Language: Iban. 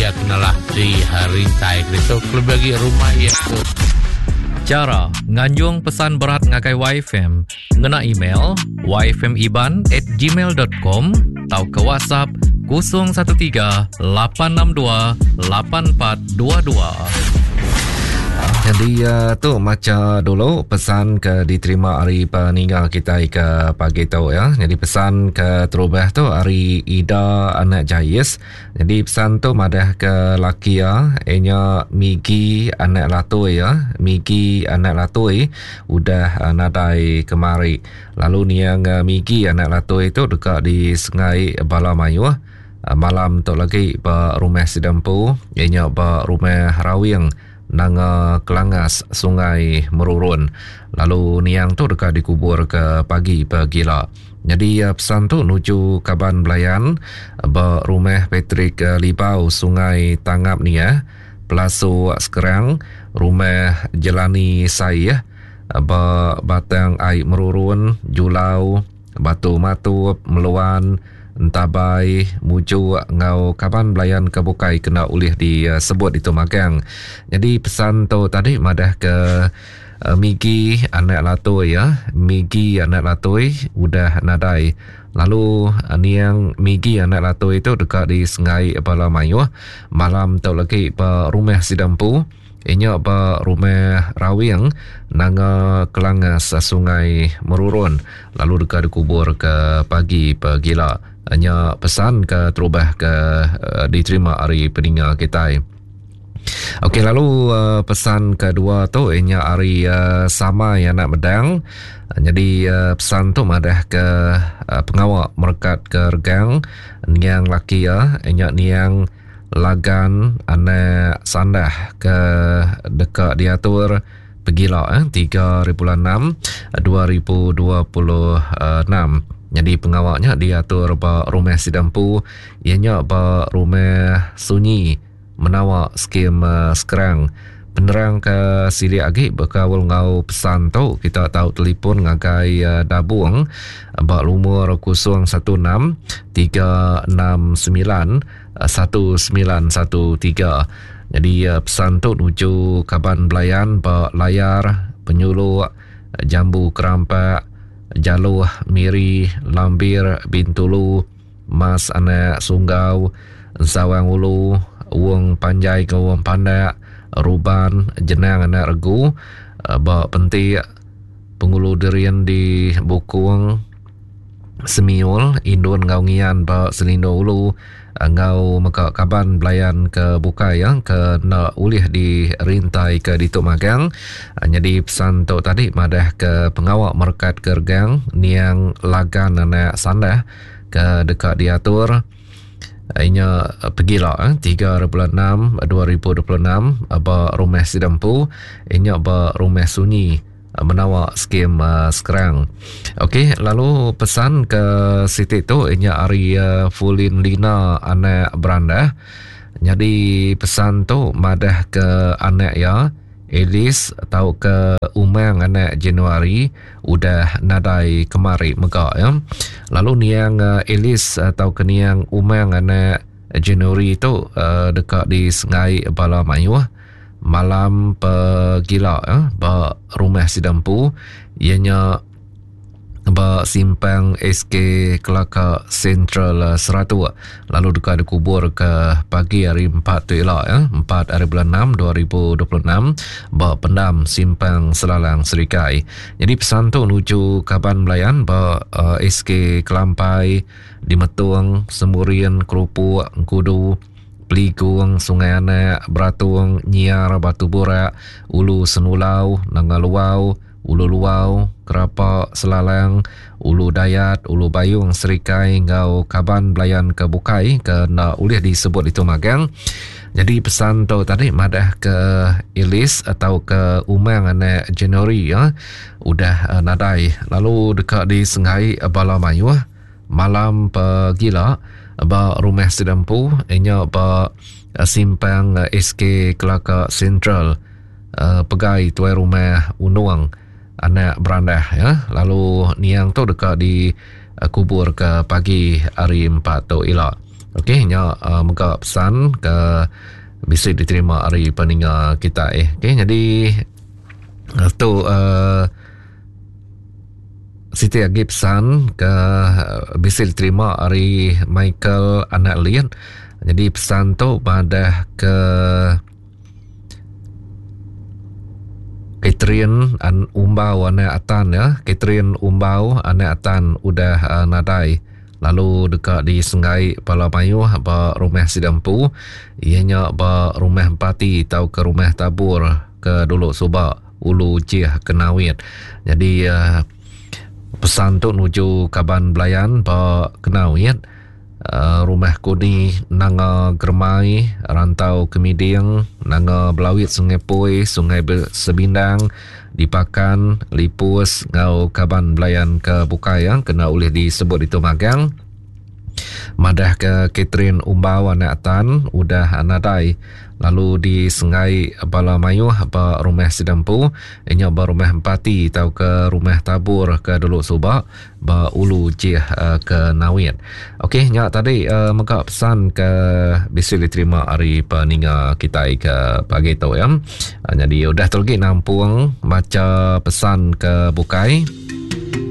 iya kenalah di rintai ke ditu kelebih agi rumah iya tu. Chara nganjung pesan berat ngagai YFM ngena email yfmiban at gmail dot com tauka WhatsApp 013 862 8422. Jadi uh, tu maca dulu pesan ke diterima hari peninggal kita ke pagi tu ya. Jadi pesan ke terubah tu hari Ida anak Jais. Jadi pesan tu madah ke laki ya, inya Migi anak Latui ya. Migi anak Latui udah uh, nadai kemari. Lalu niang uh, Migi anak Latui tu deka disengai bala mayuh uh, malam tu lagi ba rumah sida empu, inya ba rumah Rawing Nanga Kelangas Sungai Merurun. Lalu niang tu deka dikubur ke pagi pegila. Nyadi pesan tu nuju kaban belayan ba rumah Patrick Libau Sungai Tangap Niah, Pelasu Sekerang, Rumah Jelani Saih ba Batang Ai Merurun, Julau, Batu Matup, Meluan, Entabai, Mujuk enggau kaban belayan ke bukai kena ulih disebut ditu magang. Nyadi pesan tu tadi madah ke Migi anak Latoi ya, Migi anak Latoi udah nadai. Lalu niang Migi anak Latoi tu deka disengai bala mayuh malam tu lagi ba rumah sida empu. Inya ba Rumah Rawing, Nanga Kelangas, Sungai Merurun lalu deka dikubur ke pagi pegila. Nya pesan ke terubah ke diterima ari peninga kitai. Okey lalu pesan kedua tu inya ari Samai anak Medang. Nyadi pesan tu madah ke pengawa merekat ke regang niang laki iya inya niang Lagan anak Sandah ke deka diatur pegila eh, 3 hari bulan 6 2026. Nyadi pengawa nya diatur ba rumah sida empu iya nya ba rumah Sunyi Menawa Skim eh, Skrang. Penerang ke silik agi bekaul enggau pesan tu kita tau telefon ngagai eh, Dabung ba lumur 016 369 1913. Nyadi pesan tu nuju kaban belayan ba Layar, Penyuluk, Jambu Kerampak, Jaloh, Miri, Lambir, Bintulu, Mas Anak Sunggau, Ensawang Ulu, Wong Panjai enggau Wong Pandak, Ruban, Jenang Anak Regu, ba Pentik, Pengulu Derin di Bukong, Semiul, Indun enggau Ngian ba Selindo Ulu enggau mega kaban belayan ke bukai ya ke enda ulih dirintai ke ditu magang. Nyadi pesan tu tadi madah ke pengawa merekat ke regang niang Lagan anak Sandah ke deka diatur inya pegila 3 bulan 6 2026 ba rumah sida empu inya ba rumah sunyi menawa skim Skrang. Okey, lalu pesan ke siti tu inya ari Fulin Lina anak Berandah. Nyadi pesan tu madah ke anak iya Alice tauka Umang anak Januari udah nadai kemari mega ya. Lalu niang Alice tauka niang Umang anak Januari tu deka disengai bala mayuh malam pegila eh, ba rumah sida empu iya nya ba simpang SK Kelaka Central eh, Seratuk lalu deka dikubur ke pagi hari 4 tu ila eh, 4 hari bulan 6 2026 ba pendam simpang Selalang Serikai. Jadi pesan tu nuju kaban belayan ba uh, eh, SK Kelampai di Metung, Semurian, Kerupuk, Engkudu, Peligung, Sungai Anak, Beratung, Nyiar, Batu Burak, Ulu Senulau, Nanga Luau, Ulu Luau, Kerapa, Selalang, Ulu Dayat, Ulu Bayung, Serikai enggau kaban belayan ke bukai ke enda ulih disebut ditu magang. Nyadi pesan tu tadi madah ke Alice atau ke Umang anak January ya, udah eh, nadai lalu deka disengai bala mayuh Malam pegila ba rumah sida empu inya ba simpang SK Kelaka Central pegai tuai rumah Unong anak Berandah ya lalu niang tu deka dikubur ke pagi hari empat tu ila. Okey nya uh, mega pesan ke bisi diterima ari peninga kita eh. Okey jadi eh, tu uh, siti agi pesan ke bisi diterima ari Michael anak Lin. Jadi pesan tu madah ke Catherine an Umbau anak Atan ya. Catherine Umbau anak Atan udah uh, nadai lalu deka disenggai bala mayuh ba rumah sida empu iya nya ba rumah Empati tauka rumah Tabur ke dulu suba Ulu Jih Kenawit. Jadi uh, pesan tu nuju kaban belayan ba Kenawit uh, rumah Kuni Nanga Germai Rantau Kemiding Nanga Belawit Sungai Poi Sungai Sebindang Dipakan Lipus enggau kaban belayan ke bukai ya kena ulih disebut ditu magang. Madah ke Catherine Umbau anak Tan udah nadai lalu disenggai bala mayuh ba rumah sida empu nya ba rumah Empati tauka rumah Tabur ke dulu suba ba Ulu Jih eh, ke Nawit. Okey nya tadi uh, mega pesan ke bisi diterima ari peninga kitai ke pagi tu ya. Uh, jadi udah tu lagi nampung macha pesan ke bukai.